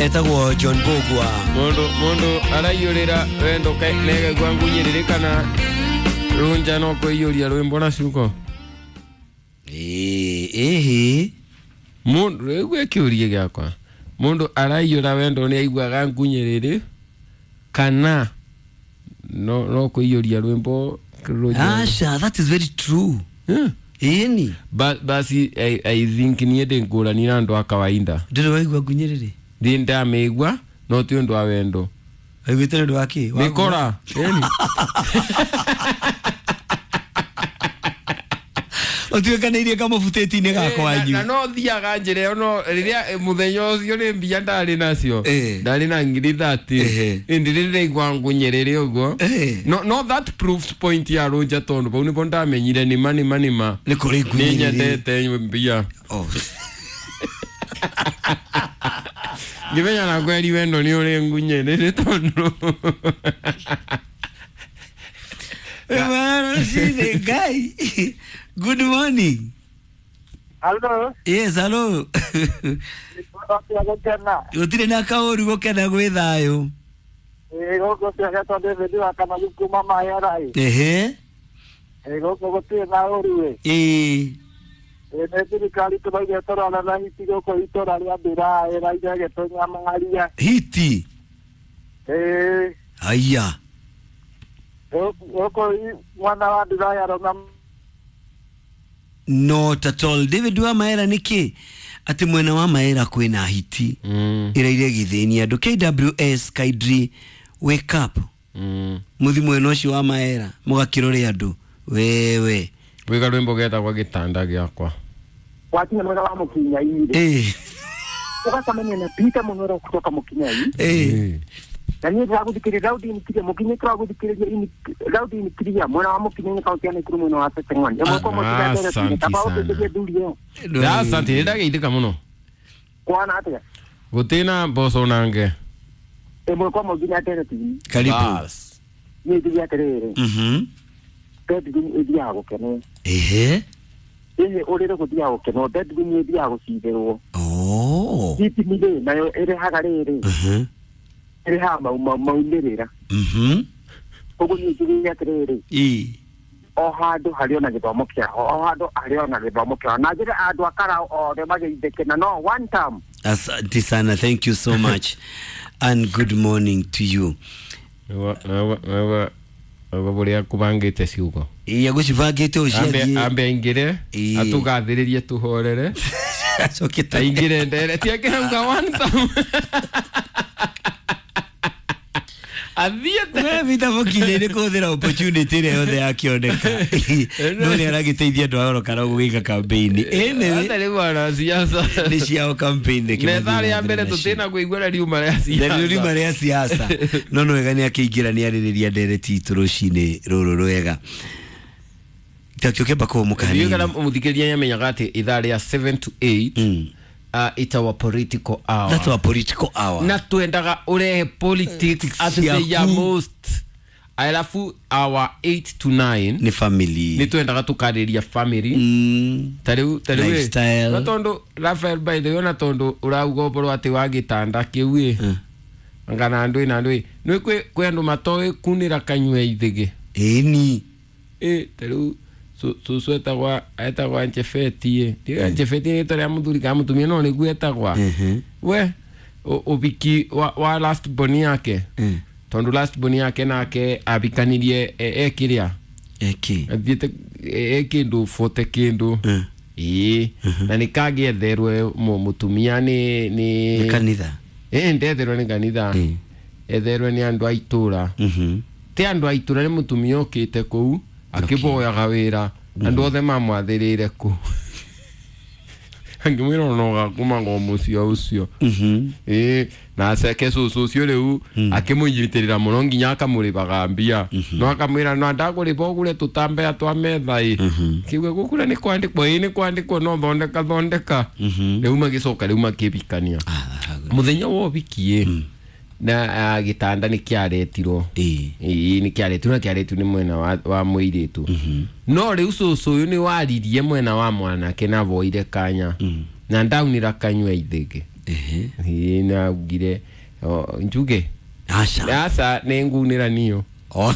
Etagwo John Bogwa. Mundu araiyurira wendo nega ngunyirire kana runja no kuiyuria rwimbo na ciugo. Ehe. Mundu rĩu kĩũria gĩakwa. Mundu araiyura wendo nĩ aiguaga ngunyirire kana no kuiyuria rwimbo runja. Asha, that is very true. Yeah. Ĩni. Basi I think niĩ ndĩ ngũrani na andũ a kawaida. Ndĩrĩ waigua ngunyirire? Ndĩ ndamĩigua no ti ũndũ wa wendo. Waiguĩte nĩ ũndũ wa kĩ? Mĩkora. Ĩni. Ũtuĩkanĩirie kamũbutĩti-inĩ gakwa wanyu. Na no thiaga njĩra ĩyo no rĩrĩa mũthenya ũcio nĩ mbia ndarĩ nacio. Ndarĩ na ngiri 30. Ĩndĩ rĩrĩa ndaigua ngunyĩrĩre ũguo. No that proves point ya Rũnja tondũ bau nĩbo ndamenyire nĩma nĩma nĩma. Nĩ kũrĩ ngunyĩrĩre. Nĩ nyendete mbia. Oh. Ngĩmenya na kweri wendo nĩ ũrĩ ngunyĩrĩre tondũ. Guy. Good morning. Hello. Yes, hello. Gũtirĩ na kaũru gũkena gwĩ thayũ. Gũkũ ciagetwo David wa Kamagu kuma Mayara. Ehe. Gũkũ gũtirĩ na ũru. Ĩĩ. Nĩ thirikari tũraigua tũrona na hiti gũkũ itũra rĩa Mbĩra ĩraigua ĩgĩtũnyamaria. Hiti? Ĩĩ. Haiya. Gũkũ mwana wa Mbĩra arona. Not at all. David wa Maera nĩkĩ atĩ mwena wa Maera kwĩna hiti ĩraire gĩthĩni andũ. KWS Kaidri, wake up. Mũthi mwena ũcio wa Maera mũgakĩrore andũ. Wewe wĩga rwĩmbo getagwo gĩtanda gĩakwa. Wakinya mwena wa Mũkinyai. Ũgacemania na Peter Mũnoro kutoka Mũkinyai. Na niĩ ndĩragũthikĩrĩria Raudi Nkiria Mũkinyai tũragũthikĩrĩria Raudi Nkiria mwena wa Mũkinyai kaunti ya Nakuru mwena wa Seteng'ani. Ĩmwe kwa ĩmwe kaba ũteithie thuri ĩyo. Asante, nĩ ndageithĩka mũno. Kwana atĩa? Gũtirĩ na mboco nange. Ĩmwe kwa ĩmwe nginya ndereti. Karibu. Niĩ njuge atĩrĩrĩ. Bedroom ĩthiaga gũkenwo. Ehe. Ĩhĩ ũrĩrĩ gũthiaga gũkenwo, bedroom ĩthiaga gũcithĩrwo. Oh. Thitima rĩ nayo ĩrĩhaga rĩrĩ. Ĩrĩhaga maumĩrĩra. Koguo niĩ njuge atĩrĩrĩ. O handũ harĩ ona gĩthomo kĩao, o handũ harĩ ona gĩthomo kĩao. Na njĩre andũ a Karau othe mageithĩke na no one term. Asante sana, thank you so much and good morning to you. Ũrĩa kũbangĩte ciugo. Ĩĩ agũcibangĩte ũciathiĩ. Ambe aingĩre atũgathĩrĩrie tũhorere. Acoke aingĩre ndere tiakĩrauga one term. Athiĩte. We Peter Mũkinyai nĩ kũhũthĩra opportunity ĩrĩa yothe yakĩoneka. No nĩ aragĩteithia andũ a Oro Karau gwĩka campaign. Ata rĩu ara siasa. Nĩ ciao campaign nĩ Nĩ thaa rĩa mbere tũtĩna kũigua riuma rĩa siasa. Na riuma rĩa siasa. No no wega nĩ akĩingĩra nĩ arĩrĩria ndereti itũ rũcinĩ rũrũ rwega. Takĩũke mbako mũkani. Ndiũĩ kana mũthikĩrĩria nĩamenyaga atĩ ithaa rĩa 7 to 8 it's our political hour. That's our political hour. Na twendaga urehe politics at the most. Alafu our 8 to 9 ni family. Ni twendaga tukarĩria family. Tarĩu lifestyle. Na tondu Rafael by the way na tondu urauga ũhoro atĩ wa gĩtanda kĩu ĩ. Ngana andũ na andũ. Nĩ kwĩ andũ matoĩ kunĩra kanyua ithĩgĩ. Ĩni. Tarĩu susu etagwa Nchefeti. Ndiga Nchefeti nĩ rĩtwa rĩa mũthuri kana mũtumia no nĩguo etagwa. We ũbiki wa last born yake. Tondu last born yake nake abikanirie ekĩrĩa. Eki. Athiĩte ekĩndũ 40 kĩndũ. Ĩĩ. Na nĩ kangĩetherwe mũtumia nĩ kanitha. Ndetherwe nĩ kanitha. Etherwe nĩ andũ a itũra. Ti andũ a itũra nĩ mũtumia ũkĩte kũu. Akĩboyaga wĩra andũ othe mamwathĩrĩire kũu. Angĩmwĩra ona ũgakoma ngo mũciĩ ũcio. Na aceke cũcũ ũcio rĩu akĩmũnyitĩrĩra mũno nginya akamũrĩbaga mbia. No akamwĩra no ndagũrĩba ũgũre tũtambaya twa metha ĩ. Kiuga gũkũra nĩ kwandĩkwo ĩ nĩ kwandĩkwo no thondeka thondeka. Rĩu magĩcoka rĩu makĩbikania. Mũthenya wa ũbiki ĩ na gĩtanda nĩ kĩaretirwo. Ĩĩ nĩ kĩaretirwo na kĩaretirwo nĩ mwena wa mũirĩtu. No rĩu cũcũ ũyũ nĩ waririe mwena wa mwanake na woire kanya. Na ndaunĩra kanyua ithĩgĩ. Ehe. Ĩĩ, na augire njuge Aca. aca nĩ ngunĩra niyo. Oh.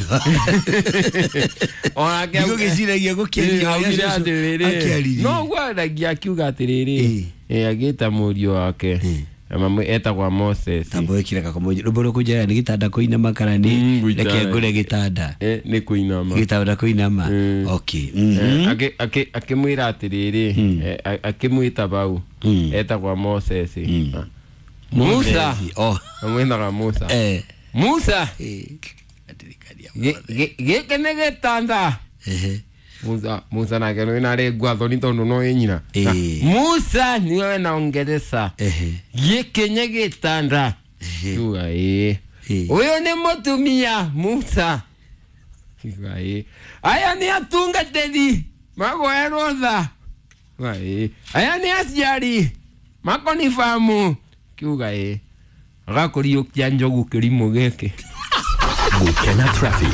Onake Ndigũgĩciragia gũkĩaria ũrĩa augire cũcũ atĩrĩrĩ akĩaririe. no gwaragia akiuga atĩrĩrĩ Ĩĩ. agĩta mũriũ wake etagwa Moses. Tambo wĩkire kakomo rwĩmbo rũkũnjara nĩ gĩtanda kũinama kana nĩ Mm, gũikara. reke ngũre gĩtanda. Nĩ kũinama. Gĩtanda kũinama. Mm. Okay. Mhm. Akĩmwĩra atĩrĩrĩ, akĩmwĩta bau etagwa Moses. Musa. Moses. Oh. Amwĩtaga Musa. Musa. Ndirikania. Gĩkĩ nĩ gĩtanda. Ehe. Musa nake nĩ narĩ ngwathoni tondũ no ĩ nyina. Ĩĩ. Musa niwe naongereza. Ehe. Gĩkĩ nĩ gĩtanda. Kiuga ĩĩ. Ĩĩ. Ũyũ nĩ mũtumia Musa. Kiuga ĩĩ. Aya nĩ atungatĩri magoerwo tha. Kiuga ĩĩ. Aya nĩ aciari makonibamu. Kiuga ĩĩ. Agakũriũkia njogu kĩrimũ gĩkĩ. Gukena traffic.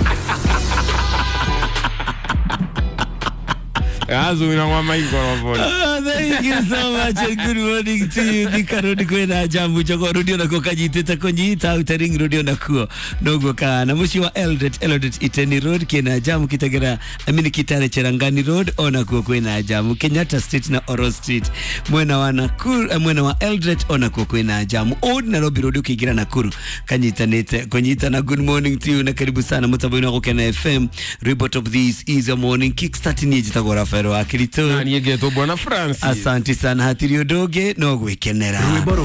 Gacumira kwa maikoroboni. Oh, thank you so much and good morning to you. Thika Road kwĩna jamu Jogoo Road onakuo kanyitĩte kũnyita Outer Ring Road onakuo noguo kana mũciĩ wa Eldoret, Eldoret Iteni Road kĩna jamu Kitengela, I mean Kitale Cherangani Road onakuo kwĩna jamu Kenyatta Street na Oro Street mwena wa Nakuru, mwena wa Eldoret onakuo kwĩna jamu Old Nairobi Road ũkĩingĩra Nakuru kanyitanĩte kũnyitana. Good morning to you na karibu sana mũtambo-inĩ wa Gũkena FM. Rwĩmbo top, this is a morning kickstart. Niĩ njĩtagwo Rafael wa Kirito. Na niĩ ngetwo Bwana Francis. Asante sana, hatirĩ ũndũ ũngĩ no gwĩkenera. Rwĩmbo rwa